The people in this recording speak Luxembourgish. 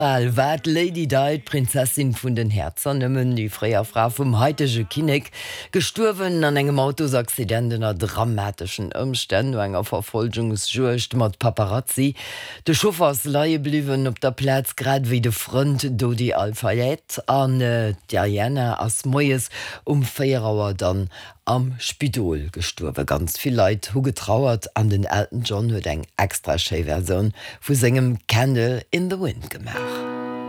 Al war d'Lady Di, d'Prinzessin vun den Häerzer, nëmmen déi fréier Fra vum haitege Kinnek, gestuerwen an engem Autosaccident ënner dramateschen Ëmstänn no enger Verfolgungsjuegd mat Paparazzi. De Chauffer ass leie bliwwen op der Plaz, grad ewéi de Frënd Dodi Al-Fayed, an d'Diana ass moies um 4 Auer dann Am Spidol gestuerwe. Ganz vill Leit hu getrauert an den Elton John huet eng extra schéi Versioun vu sengem Candle in the Wind gemaach.